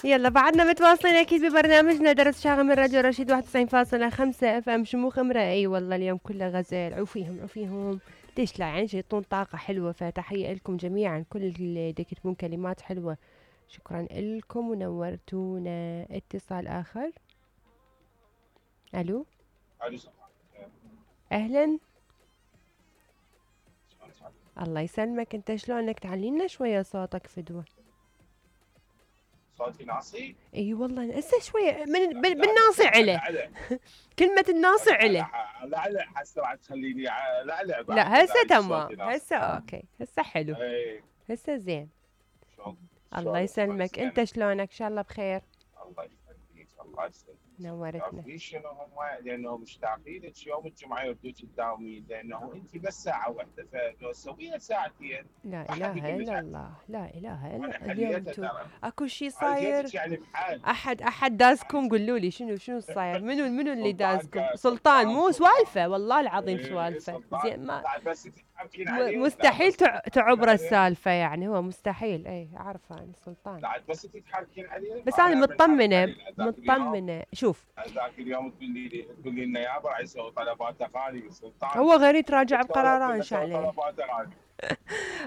يلا بعدنا متواصلين اكيد ببرنامجنا درس شاغل من راديو رشيد 91.5 FM شموخ امرأة. اي والله اليوم كله غزل. عوفيهم عوفيهم، ليش لا؟ يعني يعطون طاقة حلوة. فتحية لكم جميعا كل اللي يكتبون كلمات حلوة. شكرا لكم ونورتونا. اتصال اخر. الو. اهلا. الله يسلمك، انت شلونك؟ تعلينا شوية صوتك فدوة. صوتي ناصي؟ اي والله هسه شوية بالناصي عله. كلمة الناصي عله. لا حاسة راح تخليني لا لا هسه تمام، هسه اوكي، هسه حلو، هسه زين. الله يسلمك، انت شلونك؟ ان شاء الله بخير. الله يخليك الله يسلمك. نورتنا. تعرفين شنو هم؟ لانه مشتاقين لك يوم الجمعه يردوك تداومين، لانه انت بس ساعه واحده، فلو تسويها ساعتين. لا اله الا الله، لا اله الا الله. اليوم انتم اكو شيء صاير؟ يعني بحال احد دازكم؟ قولوا لي شنو صاير؟ منو اللي دازكم؟ سلطان مو سوالفه والله العظيم سوالفه. زين ما مستحيل تعبر السالفه، يعني هو مستحيل. اي اعرفه انا سلطان. بعد بس تتحركين عليه. بس انا مطمنه. شوف ذاك اليوم تقولي لنا يابا راح يسوي طلبات اغاني سلطان. هو غير يتراجع بقراره ان شاء الله.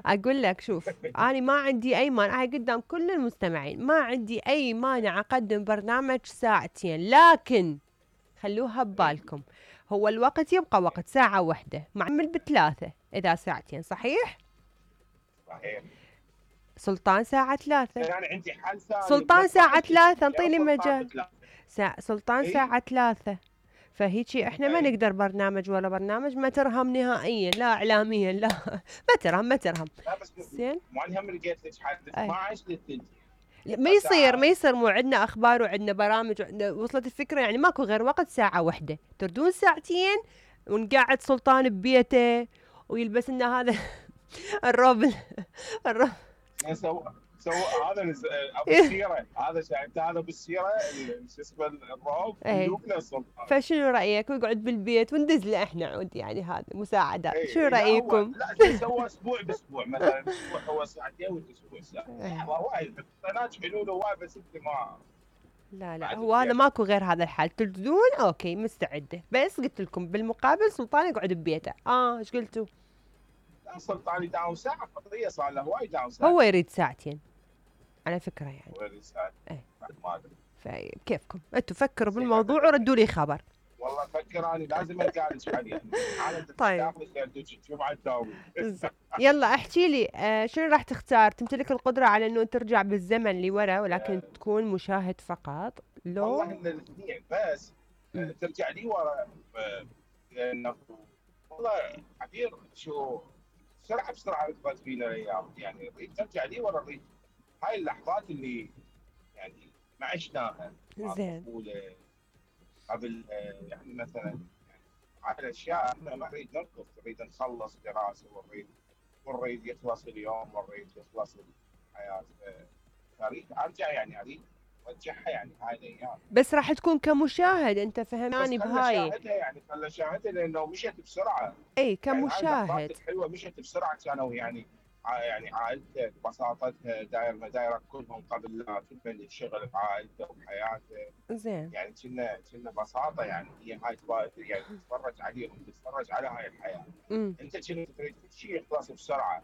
اقول لك شوف، انا ما عندي اي مانع قدام كل المستمعين، ما عندي اي مانع اقدم برنامج ساعتين، لكن خلوها ببالكم هو الوقت يبقى وقت ساعة واحدة معمل بثلاثة إذا ساعتين. صحيح؟ صحيح. سلطان ساعة 3. يعني عندي حل ثاني. سلطان ساعة 3 انطيني مجال. سلطان ساعة 3. فهيجي احنا ما نقدر برنامج ولا برنامج ما ترهم نهائيا، لا اعلاميا لا ما ترهم. لا بس زين مو هم لقيت لك حد 12 للثلث. ما يصير مو عندنا اخبار وعندنا برامج وعندنا. وصلت الفكره؟ يعني ماكو غير وقت ساعه واحده، تردون ساعتين ونقعد سلطان ببيته ويلبس لنا هذا الروب سو هذا ابو السيره، هذا شايفت هذا بالسيره شو اسمه الروب يلوكنا السلطان. فشنو رايك؟ ويقعد بالبيت وندز له احنا عود يعني هذا مساعدات. شو رايكم؟ لا سوى اسبوع باسبوع مثلا، اسبوع هو ساعتين والاسبوع ساعه. وايد ناس حلول هواي بس انت ما. لا هو هذا ماكو غير هذا الحال. تردون اوكي مستعده، بس قلت لكم بالمقابل سلطان يقعد ببيته. ايش قلتوا؟ لا سلطان يداوم ساعه قضيه، صار له هواي يداوم ساعه. هو يريد ساعتين على فكره يعني. هو يريد ساعتين. ما ادري. فكيفكم انتم فكروا بالموضوع وردوا لي خبر. والله فكر اني لازم ارجع لك عليه. طيب يلا احكي لي شنو راح تختار؟ تمتلك القدره على انه ترجع بالزمن لورا ولكن تكون مشاهد فقط لو؟ والله الاثنين بس ترجع لي ورا لانه والله عبير شو بسرعه ركبت فينا الايام. يعني ترجع لي ورا هاي اللحظات اللي يعني ما عشناها. زين. قبل يعني مثلا يعني على الاشياء احنا ما نريد نركض، نريد نخلص دراسه ونريد يخلص اليوم ونريد يخلص الحياه. اريد ارجع يعني اريد ارجعها يعني هاي الايام. بس راح تكون كمشاهد انت فهماني بهاي. خلنا شاهدها لانه مشت بسرعه. اي كمشاهد. يعني الحلوه مشت بسرعه. كانوا يعني عائلته ببساطتها دايره كلهم قبل لا تبني الشغل بعائلته وبحياته. زين. يعني كنا بساطه. يعني هي هاي يعني تتفرج عليهم، تتفرج على هاي الحياه. انت كنت تريد كل شيء يخلص بسرعه.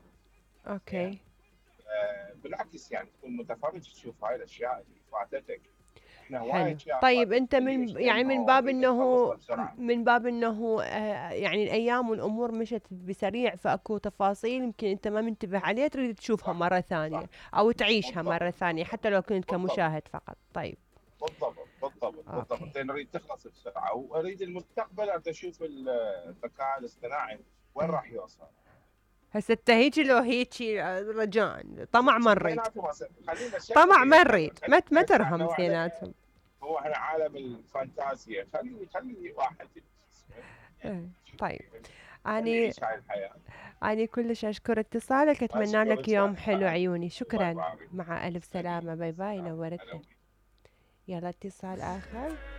اوكي. يعني بالعكس يعني تكون متفرج تشوف هاي الاشياء اللي فاتتك. حلو. طيب انت من باب انه يعني الايام والامور مشت بسريع، فاكو تفاصيل يمكن انت ما منتبه عليها تريد تشوفها مره ثانيه او تعيشها مره ثانيه حتى لو كنت كمشاهد فقط. طيب بالضبط. نريد تخلص بسرعه واريد المستقبل اشوف الذكاء الاصطناعي وين راح يوصل. هسه هيجي لو هيجي رجاء طمع ما نريد. طمع ما نريد، ما ترهم اثنيناتهم. هو احنا عالم الفانتازيا. خلي واحد. طيب أنا كلش أشكر اتصالك، أتمنى لك يوم حلو عيوني. شكرا. مع ألف سلامة. باي باي. نورتنا. يلا اتصال آخر.